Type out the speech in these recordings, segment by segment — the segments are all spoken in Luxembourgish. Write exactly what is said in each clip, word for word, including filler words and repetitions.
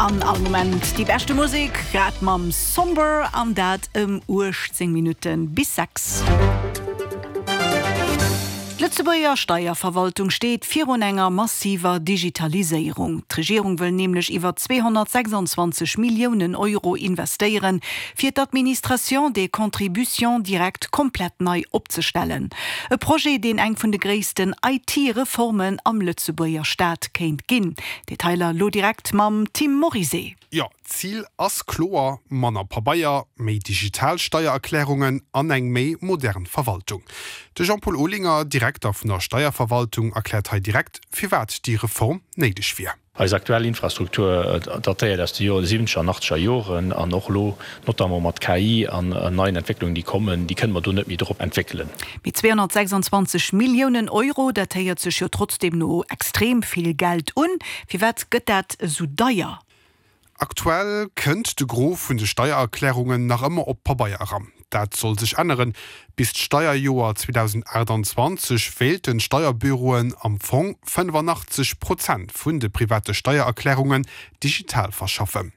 An all Moment déi beschte Musek, grad mam Somber an dat ëm uechtzéng Minutte bis sechs. D'Lëtzebuerger Steierverwaltung steet virun enger massiver Digitaliséierung. D'Regierung wëll nämlech iwwer zweehonnertsechsandzwanzeg Milliounen Euro investéieren, fir d'Administration des contributions directes komplett nei opzestellen. E Projet, deen eng vun de gréissten I T-Reformen am Lëtzebuerger Staat kéint ginn. Detailer lo direkt mam Tim Morizet. Jo, d'Zil ass kloer, manner Pabeier, méi digital Steiererklärungen an eng méi modern Verwaltung. De Jean-Paul Olinger, Direkter vun der Steierverwaltung, erkläert hei direkt, firwat déi Reform néideg wier. Eis aktuell Infrastruktur datéiert aus de Joren siwwenzeger an achtzeger Joren an och elo notamment mat K I an neien Entwécklungen déi kommen, déi kënne mer do net méi drop entwéckelen. Mee zweehonnertsechsandzwanzeg Milliounen Euro, dat héiert sech jo trotzdeem no extrem vill Geld un. Firwat gëtt dat esou deier? Aktuell kënnt de Gros vun de Steiererklärungen nach ëmmer op Pabeier eran. Dat soll sech änneren. Bis d'Steierjoer zweedausendachtanzwanzeg wéilten d'Steierbüroen am Fong fënnefanachtzeg Prozent vun de private Steiererklärungen digital verschaffen.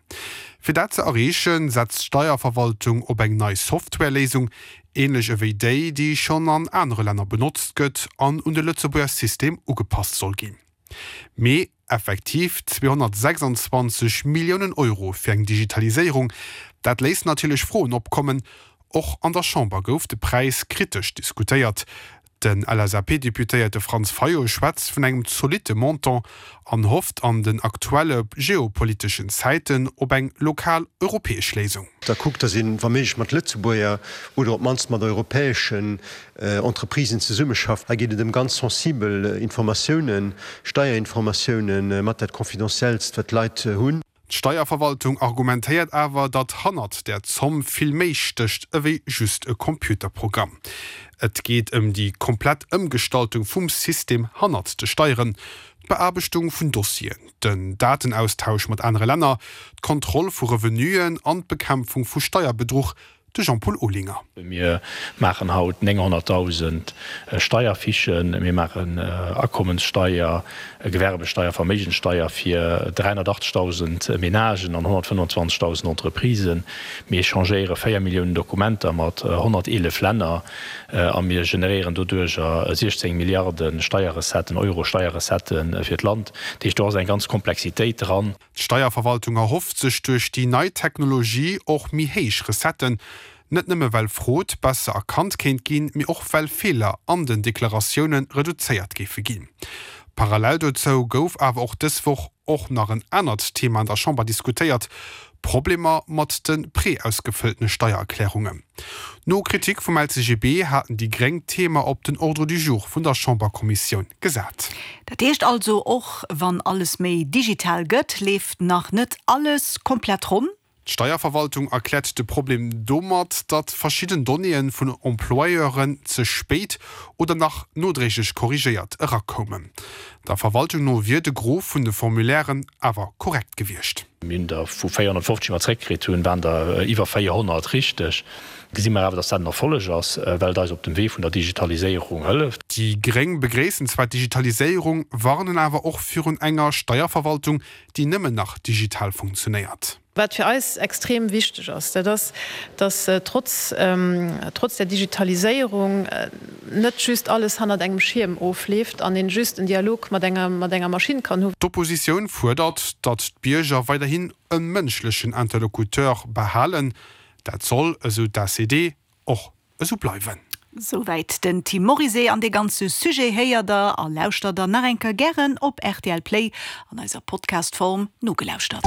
Fir dat ze erreechen, setzt d'Steierverwaltung op eng nei Softwareléisung, änlech ewéi déi, déi schonn an anere Länner benotzt gëtt an un de Lëtzebuerger System ugepasst soll ginn. Mee effektiv zweehonnertsechsandzwanzeg Milliounen Euro fir eng Digitaliséierung, dat léisst natierlech Froen opkommen. Och an der Chamber gouf de Präis kritesch diskutéiert. Den L S A P-Deputéierte Franz Fayot schwätzt vun engem zolitte Montant an hofft an den aktuelle geopoliteschen Zäiten op eng lokal europäesch Léisung. Da kuckt, datt een wa méiglech mat Lëtzebuerger oder op d'mannst mat europäeschen Entreprisen zesummeschafft. Hei geet et ëm ganz sensibel Informatiounen, Steierinformatiounen, mat dat Confidentiellst, wat d'Leit hunn. D'Steierverwaltung argumentéiert awer, datt hannert där Zomm vill méi stécht ewéi just e Computerprogramm. Et geet ëm déi komplett Ëmgestaltung vum System hannert de Steieren, d'Beaarbechtung vun Dossieren, den Datenaustausch mat anere Länner, d'Kontroll vu Revenuen an d'Bekämpfung vu Steierbedruch, de Jean-Paul Olinger. Mir maachen haut nénghonnertdausend Steierfichen, mir maachen Akommenssteier, Gewerbesteier, Verméigenssteier fir dräihonnertachtzegdausend Menagen an honnertfënnefenzwanzegdausend Entreprisen. Mir echangéiere véier Milliounen Dokumenter mat honnerteelef Länner a mir generéieren doduercher siechzéng Milliarde Steierrecetten, Euro Steierrecettë fir d'Land. Dat heescht, do ass eng ganz Komplexitéit dran. D'Steierverwaltung erhofft sech duerch déi nei Technologie och méi héich Recetten, net nëmme well Frod besser erkannt kéint ginn, mee och well Feeler an den Deklaratioune reduzéiert géife ginn. Parallel dozou gouf awer och dës Woch och nach en anert Thema an der Chamber diskutéiert, Problemer mat de preausgefëlltene Steiererklärungen. No Kritik vum L C G B haten déi Gréng d'Thema op den Ordre du jour vun der Chamberkommissioun gesat. Dat heescht also, och wann alles méi digital gëtt, leeft nach net alles komplett ronn? D'Steierverwaltung erkläert de Problem domat, datt verschidden Donnéeë vun Employeuren ze spéit oder nach nodréiglech korrigéiert erakoumen. Der Verwaltung no wier de Gros vun de Formulairen awer korrekt gewiescht. Mir hunn der vu véierhonnertfofzeg, déi mer zréckkritt hunn, waren der iwwer véierhonnert richteg. Gesi mer awer, datt dat en Erfolleg ass, well et eis op dem Wee vun der Digitaliséierung hëlleft. Déi Gréng begréissen zwar d'Digitaliséierung, warnen awer och virun enger Steierverwaltung, déi nëmmen nach digital funktionéiert. Wat fir eis extrem wichteg ass, dat ass, datt trotz trotz der Digitaliséierung net just alles hannert engem Schierm ofleeft an een just en Dialog mat enger mat enger Maschinn kann hunn. D'Oppositioun fuerdert, datt d'Bierger weiderhin e mënschlechen Interlocuteur behalen. Dat soll, esou d'A C D, och esou bleiwen. Souwäit den Tim Morizet an de ganze Sujet héiert der a lauschtert der nach eng Kéier gären op R T L Play an eiser Podcastform nogelauschtert.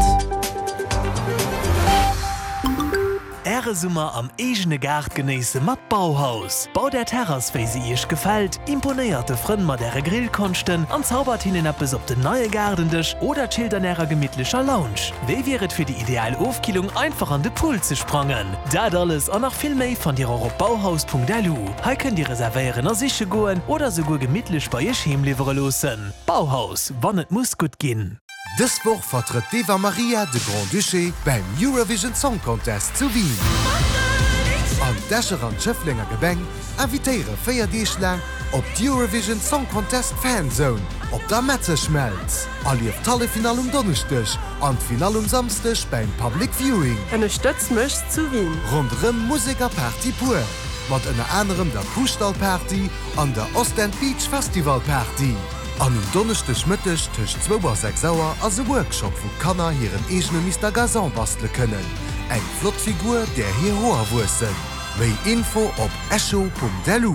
Äre Summer am eegene Gaart genéisse mat Bauhaus. Baut är Terrass wéi se iech gefält, imponéiert de Frënn mat äre Grillkonschten an zaubert hinnen eppes op den neie Gaardendësch oder chillt an ärer gemittlecher Lounge. Wéi wier et fir déi ideal Ofkillung einfach an de Pool ze sprangen? Dat alles an nach vill méi fannt dir och op bauhaus Punkt L U. Hei kënnt dir reservéieren a siche goen oder souguer gemittlech bei iech heem liwwere loossen. Bauhaus, wann et muss gutt ginn. Dës Woch vertrëtt d'Eva Maria de Grand-Duché beim Eurovision Song Contest zu Wien. An d'Escher an d'Schëfflenger Gemeng invitéiere véier Deeg laang op d'Eurovision Song Contest Fanzone op der Metzeschmelz. Erlieft d'Halleffinall um Donneschdeg an d'Finall um Samsdeg beim Public Viewing. Ënnerstëtz mech zu Wien! Ronderëm Musek a Party pur, mat ënner anerem der Kuhstall-Party an der Ostend Beach Festival Party. An um Donneschdeg Mëtteg tëscht zwou a sechs Auer ass e Workshop, wou Kanner hiren eegene Mister Gazon bastele kënnen. Eng flott Figur, där hir Hoer wuessen. Méi Info op echo.lu.